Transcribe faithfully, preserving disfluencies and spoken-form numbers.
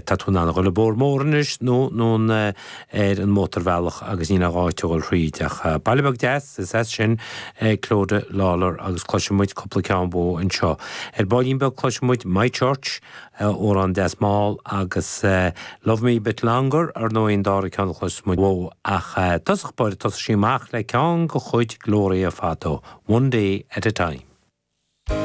Tá tú in ann a dhul an bóthar mór anois nó nó ar an mótarbhealach agus níl aon áit a dhul thríd ach baile beag deas is as sin Clodagh Lawlor agus cloisfidh muid cúpla ceann uaithi anseo. Ar baillín beag cloisfidh muid My Church amhrán deas mall agus Love Me a Bit Longer ar ndóigh an dara ceann a chloisfidh muid uaithi ach tosach báire tosóidh sí amach le ceann de chuid Gloria fadó, One Day at a Time.